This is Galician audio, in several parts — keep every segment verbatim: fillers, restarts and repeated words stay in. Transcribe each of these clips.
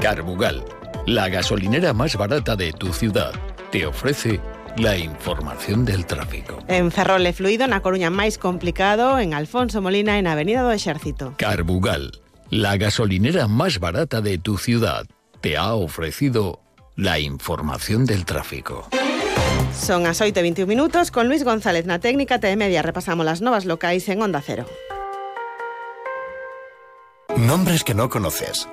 Carbugal, la gasolinera más barata de tu ciudad, te ofrece la información del tráfico. En Ferrol e fluido, na Coruña máis complicado, en Alfonso Molina, en Avenida do Exército. Carbugal, la gasolinera más barata de tu ciudad, te ha ofrecido la información del tráfico. Son as oito e veintiún minutos, con Luis González na técnica T E Media repasamos las novas locais en Onda Cero. Nombres que no conoces.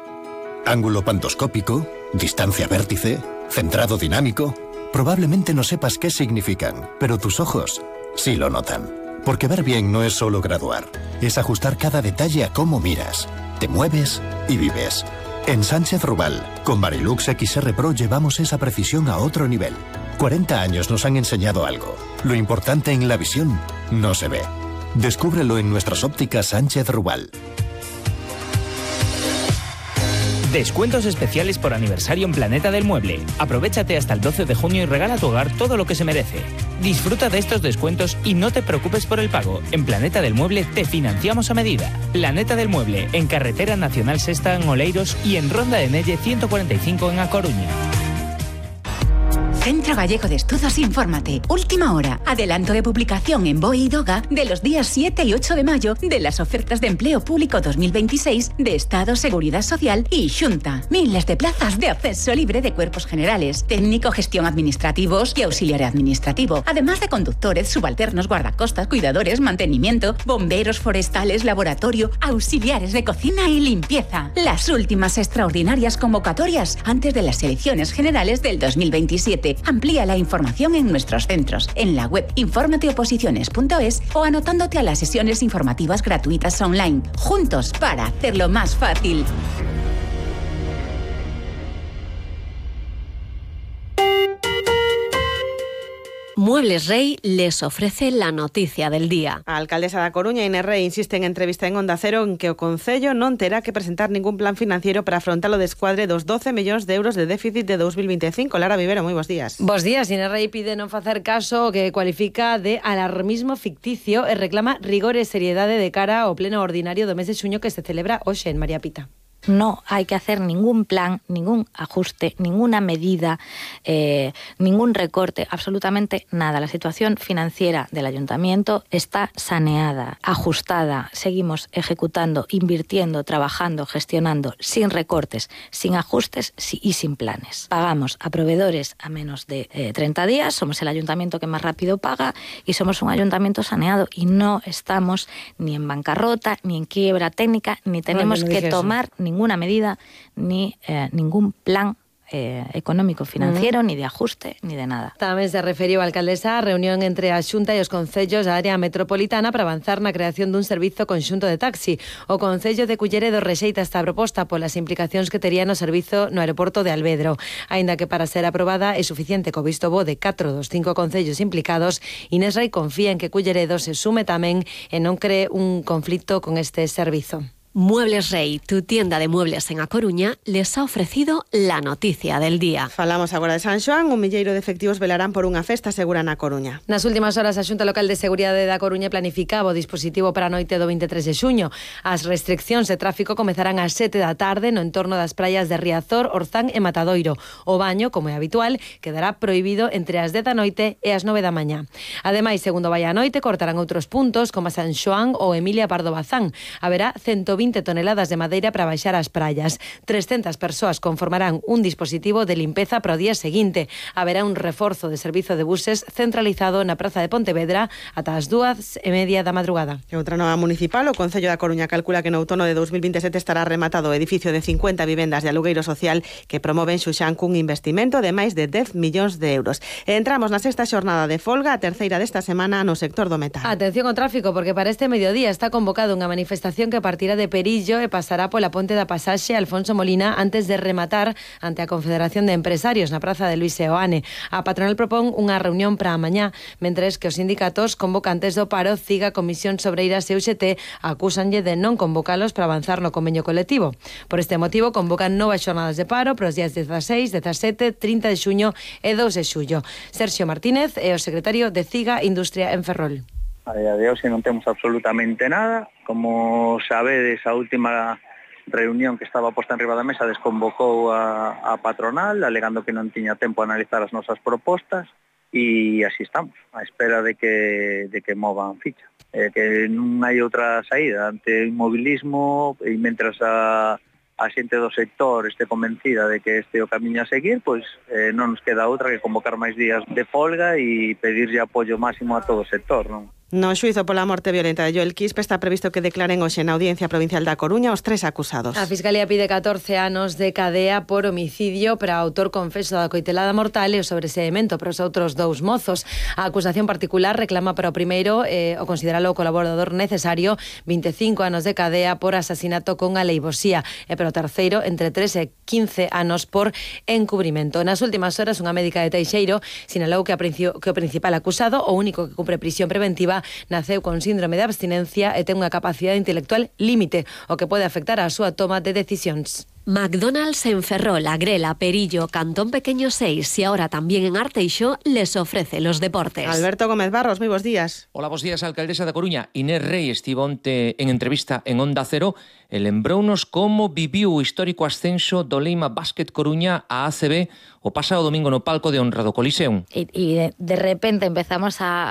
Ángulo pantoscópico, distancia vértice, centrado dinámico. Probablemente no sepas qué significan, pero tus ojos sí lo notan. Porque ver bien no es solo graduar, es ajustar cada detalle a cómo miras, te mueves y vives. En Sánchez Rubal, con Varilux X R Pro llevamos esa precisión a otro nivel. cuarenta años nos han enseñado algo. Lo importante en la visión no se ve. Descúbrelo en nuestras ópticas Sánchez Rubal. Descuentos especiales por aniversario en Planeta del Mueble. Aprovéchate hasta el doce de junio y regala a tu hogar todo lo que se merece. Disfruta de estos descuentos y no te preocupes por el pago. En Planeta del Mueble te financiamos a medida. Planeta del Mueble, en Carretera Nacional Sexta en Oleiros y en Ronda de Nelle ciento cuarenta y cinco en A Coruña. Centro Gallego de Estudos Infórmate. Última hora. Adelanto de publicación en B O E y DOGA de los días siete y ocho de mayo de las ofertas de empleo público dos mil veintiséis de Estado, Seguridad Social y Xunta. Miles de plazas de acceso libre de cuerpos generales, técnico, gestión administrativos y auxiliar administrativo. Además de conductores, subalternos, guardacostas, cuidadores, mantenimiento, bomberos forestales, laboratorio, auxiliares de cocina y limpieza. Las últimas extraordinarias convocatorias antes de las elecciones generales del dos mil veintisiete. Amplía la información en nuestros centros, en la web informateoposiciones punto es o anotándote a las sesiones informativas gratuitas online. Juntos para hacerlo más fácil. Muebles Rey les ofrece la noticia del día. A alcaldesa da Coruña, Inés Rey, insiste en entrevista en Onda Cero en que o Concello non terá que presentar ningún plan financiero para afrontar o descuadre dos doce millóns de euros de déficit de dos mil veinticinco. Lara Vivero, moi bons días. Bos días. Inés Rey pide non facer caso o que cualifica de alarmismo ficticio e reclama rigor e seriedade de cara ao pleno ordinario do mes de xuño que se celebra hoxe en María Pita. No hay que hacer ningún plan, ningún ajuste, ninguna medida, eh, ningún recorte, absolutamente nada. La situación financiera del ayuntamiento está saneada, ajustada. Seguimos ejecutando, invirtiendo, trabajando, gestionando, sin recortes, sin ajustes y sin planes. Pagamos a proveedores a menos de eh, treinta días, somos el ayuntamiento que más rápido paga y somos un ayuntamiento saneado y no estamos ni en bancarrota, ni en quiebra técnica, ni tenemos no, no que tomar ningún ninguna medida ni eh, ningún plan eh, económico financiero, mm. ni de ajuste, ni de nada. Tamén se referiu a alcaldesa a reunión entre a Xunta e os concellos da área metropolitana para avanzar na creación dun servizo conxunto de taxi. O Concello de Culleredo rexeita esta proposta polas implicacións que tería no servizo no aeroporto de Alvedro. Aínda que para ser aprobada é suficiente co visto bo de catro dos cinco concellos implicados, Inés Rey confía en que Culleredo se sume tamén e non cree un conflito con este servizo. Muebles Rey, tu tienda de muebles en A Coruña, les ha ofrecido la noticia del día. Falamos agora de San Xoán. Un milleiro de efectivos velarán por unha festa segura na Coruña. Nas últimas horas, a Xunta Local de Seguridade da Coruña planificaba o dispositivo para a noite do veintitrés de xuño. As restriccións de tráfico comezarán ás sete da tarde no entorno das praias de Riazor, Orzán e Matadoiro. O baño, como é habitual, quedará prohibido entre as dez da noite e as nove da mañá. Ademais, segundo vai a noite, cortarán outros puntos como a San Xoán ou Emilia Pardo Bazán. Haberá ciento vinte toneladas de madeira para baixar as praias. trescentas persoas conformarán un dispositivo de limpeza para o día seguinte. Haberá un reforzo de servizo de buses centralizado na Praza de Pontevedra ata as dúas e media da madrugada. E outra nova municipal, o Concello da Coruña calcula que no outono de dos mil veintisiete estará rematado o edificio de cincuenta vivendas de alugueiro social que promoven Xuxán cun investimento de máis de dez millóns de euros. E entramos na sexta xornada de folga, a terceira desta semana no sector do metal. Atención ao tráfico, porque para este mediodía está convocado unha manifestación que partirá de Perillo e pasará pola ponte da pasaxe Alfonso Molina antes de rematar ante a Confederación de Empresarios na Praza de Luis Seoane. A patronal propón unha reunión para a mañá, mentres que os sindicatos convocantes do paro, CIGA, Comisión Sobreiras e U X T acúsanlle de non convocalos para avanzar no convenio colectivo. Por este motivo convocan novas xornadas de paro para os días dezasseis, dezasete, trinta de xuño e dous de xullo. Sergio Martínez é o secretario de CIGA Industria en Ferrol. A día de hoxe non temos absolutamente nada. Como sabedes, a última reunión que estaba posta en riba da mesa desconvocou a, a patronal, alegando que non tiña tempo a analizar as nosas propostas, e así estamos, á espera de que, de que movan ficha. Eh, que non hai outra saída ante o inmobilismo, e mentras a a xente do sector este convencida de que este é o camiño a seguir, pois eh, non nos queda outra que convocar máis días de folga e pedirlle apoio máximo a todo o sector, non? No xuizo pola morte violenta de Joel Quispe está previsto que declaren hoxe na Audiencia Provincial da Coruña os tres acusados. A Fiscalía pide catorce anos de cadea por homicidio para o autor confeso da coitelada mortal e o sobreseemento para os outros dous mozos. A acusación particular reclama para o primeiro eh, o consideralo o colaborador necesario vinte e cinco anos de cadea por asasinato con aleivosía e para o terceiro entre tres e quince anos por encubrimento. Nas últimas horas unha médica de Teixeiro sinalou que, a princi- que o principal acusado, o único que cumpre prisión preventiva, naceu con síndrome de abstinencia e ten unha capacidade intelectual límite, o que pode afectar a súa toma de decisións. McDonald's en Ferrol, Agrela, Perillo, Cantón Pequeño seis y ahora también en Arteixo les ofrece los deportes. Alberto Gómez Barros, muy buenos días. Hola, bos días, alcaldesa da Coruña. Inés Rei estivo onte en entrevista en Onda Cero e lembrounos como viviu o histórico ascenso do Leima Basket Coruña a A C B o pasado domingo no palco de honra do Coliseum. Y, y de, de repente empezamos a,